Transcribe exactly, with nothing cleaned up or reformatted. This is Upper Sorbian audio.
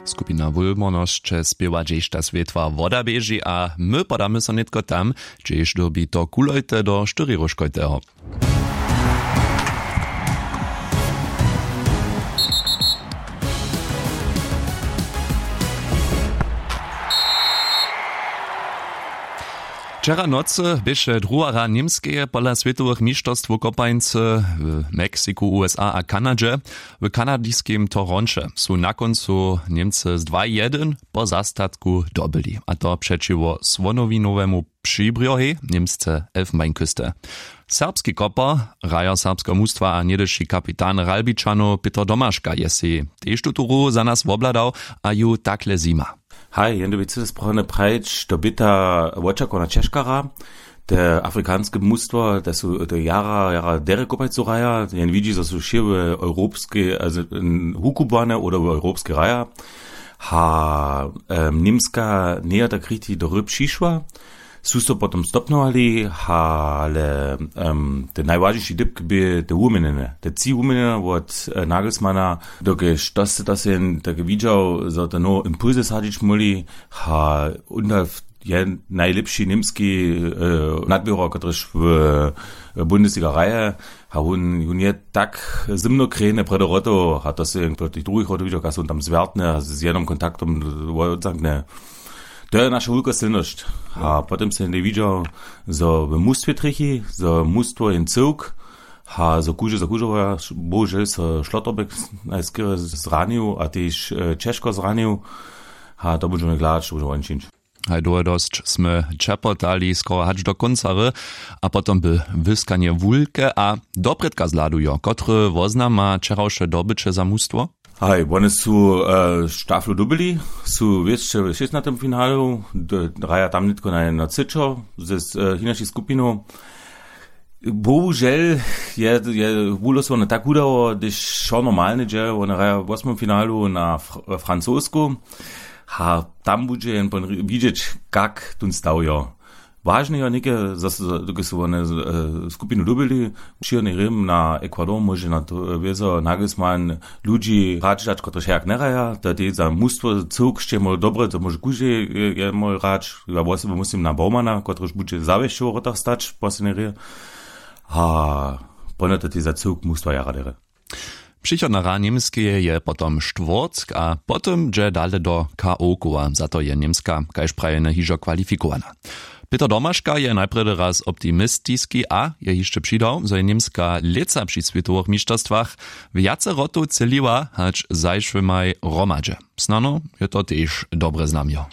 Skupina wulmornosće spěwa hdźež ta swětła woda běži a my podamy so nětko tam, hdźež dyrbi to kulojte do štyriróžkojteho. Wčera nocy běše druha hra němskeje pola swětowych mišterstwow kopańcy w meksiku usa a kanadźe. W kanadiskim toronće su na kóncu němcy z dwa jedyn po zastatku dobyli a to přećiwo słonowinowemu přibrjohej němsce elfenbeinküste. Serbski kopar, hrajo serbskeho mustwa a něhdyši kapitan ralbičanow pětr domaška je sej tež tutu hru za nas wobhladał a ju takle zjima. Haj, jen dyrbi cyte sprohane prajić to běta wočakowna ćežka hra. Te afrikanske mustwa te su te jara jara derje kopajcu hraja jen widźi zo su wšě w europskej hukubłane oder w europskej hraja. Ha němska njeje tak richtig do hry přišła. Su so potom stopnowali, ale te najwažniši dypk bě te wuměnjene te tři wuměnjene wot nagelsmana. Dokelž to se to se jen tak widźał zo te nowe impulsy sadźić móhli. Ha, undaf je najlěpši němski nadběhor kotryž w bundesliga hraje. A wón wón je tak zymno krejny prjedy rotow a to se jen proti druhich rotow widźał kaž wón tam zwjertny a z jednym kontaktom wotzankny. To je naša wulka sylnosć. A potom se jen widźał zo w mustwje trjechi zo mustwo jen cyłk. A zo kuždy zo kužowaja bohužel so šlotterbeck najskerje zranił a tež ćežko zranił. A to budźemy hladać to budźemy woni čińć. Haj dołho dosć smy ćepotali skoro hač do kónca hry a potom by wyskanje wulke a doprědka zhladujo kotry woznama wčerawše dobyće za mustwo. Haj wone su štaflu dubili su wěsće w šěstnatym finalu. Hraja tam nětko na jedno třěćo z hinašich skupinow. Bohužel je je wulosowanje tak wudało hdyž wšo normalnje dźe wone hraja w wosmym finalu na francosku. A tam budźe jen pon widźeć kak tón stawjo. Wažne jo něke zo su wone skupinu dyrbili. Přichodny rěm na ekwador móže na to wězo nagelsmann ludźi hrać dać kotryž hejak nehraja to je tež za mustwo cyłk sće móhł dobre zo móže kóždy je móhł hrać. Ja wosoby muslim na bowmana kotryž budźe zawěsće w wrotach stać w poslednjej rěje. A pone to tež za cyłk mustwa jara derje. Přichodna hra němskeje je potom štwórtk a potom dźe dale do k o koła za to je němska kaž prajene hižo kwalifikowana. Pětr domaška je najprjedy raz optimistiski a je hišće přidał zo je němska lětsa při swětowych mišterstwach wjace rotow třěliła hač zašłymaj hromadźe. Snano je to tež dobre znamjo.